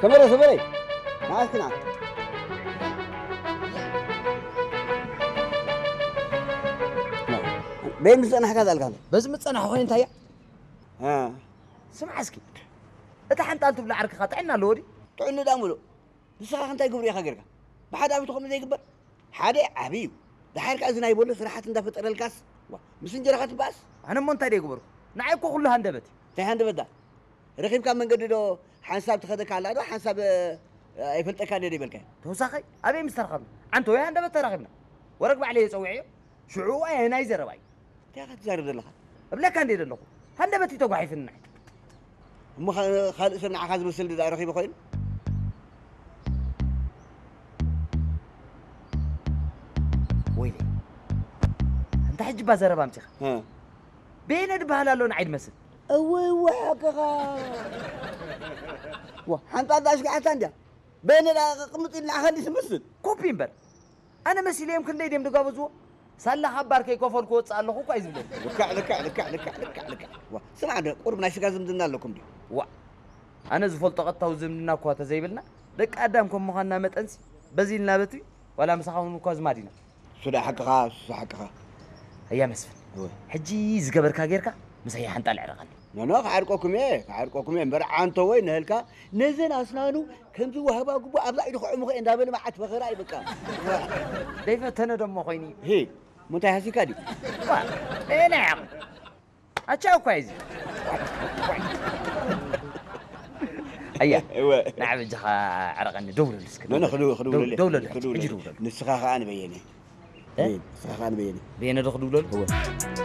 ከመረ ሰበረይ፣ ንዓስኪ ንዓ። በይ ምስ ጸናሕካ ዛልካ ኣሎ። በዚ ምጸናሕ ኮይን እንታይ እያ? እ። ስምዓ እስኪ፣ እታ ሓንጣል ትብሎ ዓርክኻ ጥዕና ኣለዎ ድዩ? ጥዕና ዳ ምሉእ። ንስኻ እንታይ ግብሪ ኢኻ ጌርካ? ብሓደ ዓመት ከምኡ ዘይግበር? ሓደ ዓብዩ። ደሓር ከኣ እዚ ናይ ቦሎ ስራሓት እንዳፈጠረልካስ፣ ዋ፣ ምስ እንጀራኻ ትበኣስ? ኣነ እሞ እንታይ ደይገበርኩ? ንዓይ እኮ ኩሉ ሃንደበት እዩ። እንታይ ሃንደበት ዳ? ረኺብካ መንገዲ ዶ ሓንሳብ ትኸደካ ኣላ ዶ ሓንሳብ፣ እ፣ ኣይፈልጠካን እየ ዶ ይበልካዮ? ተወሳኸ ኣበይ ምስ ተራኸብና? ዓንተ ወይ ሃንደበት ተራኺብና? ወረግ ባዕለይ እየ ጸዊዐዮ። ሽዑ ኣየናይ ዘረባ እዩ? እንታይ ኢኻ ትዛረብ ዘለኻ? እብለካ እንደ ዘለኹ። ሃንደበት እዩ ተጓሒፍኒ ንዓይ። እሞ ኸ-፣ ካልእ ሰብ ንዓኻ ዝመስል ድኣ ረኺቡ ኮይኑ? ወይለይ። ኣንታ ሕጂ እባ ዘረባ ኣምጺኻ። እ። በየነ ድበሃል ኣሎ ንዓይ ድመስል። እወ፣ እወ፣ ሓቅኻ። ዋ፣ ሓንጣል ኣሽግዓታ እንድያ። በየነ ደኣ ቅምጥ ኢልና ንዓኻ እንዲ ትመስል። ኮፒ እምበር። ኣነ መሲለዮም ክንደይ ድዮም ድጋበዝዎ? ሳላ ካብ ባር ከይከፈልኩ ወጽእ ኣለኹ እኳ እዩ ዝብለኒ። ልክዕ፣ ልክዕ፣ ልክዕ፣ ልክዕ፣ ልክዕ፣ ልክዕ። ዋ፣ ስማዕ፣ ደ-፣ ቁሩብ ናይ ስጋ ዝምድና ኣለኩም ድዩ? ዋ፣ ኣነ ዝፈልጦ ቀጥታዊ ዝምድና እኳ ተዘይብልና፣ ደቂ ኣዳም ከም ምዃንና መጠንሲ፣ በዚ ኢልና በቲ፣ ዋላ ምሳኻ እውን እኳ ኣዝማድ ኢና። እሱ ደኣ ሓቅኻ፣ እሱ ሓቅኻ። ኣያ መስፍን፣ እወ። ሕጂ ዝገበርካ ጌርካ፣ ምሳይ ሓንጣል ዕረቐኒ። ኖ፣ ኖ፣ ክዓርቀኩም እየ፣ ክዓርቀኩም እየ። እምበር ዓንቶ ወይ ንህልካ፣ ነዘን ኣስናኑ ከምዚ ዋህባ ጉቦ ኣብዛ ኢዱ ክዕሙኸ እንዳበለ መዓት ፈኸራ እዩ በቃ። ደይፈተነ ደሞ ኮይኑ እዩ። ሂ፣ ምንታይ ሃሲካ ድዩ? ዋ፣ በየናይ ዓቕሚ? ኣቻ እኳ እዩ እዚ። ኣያ፣ እወ። ንዓ በጃኻ ዕረቐኒ፣ ደውለሉ እስኪ፣ ኖ፣ ኖ፣ ደውለሉ። ክድው-፣ ክድውለሉ። ደው-፣ ደውለሉ፣ ሕጂ ክድውለሉ። ደውለሉ። ንስኻ ኸኣ ንበየነ። እ? ንስኻ ኸኣ ንበየነ። በየነ ዶ ክድውለሉ? እወ።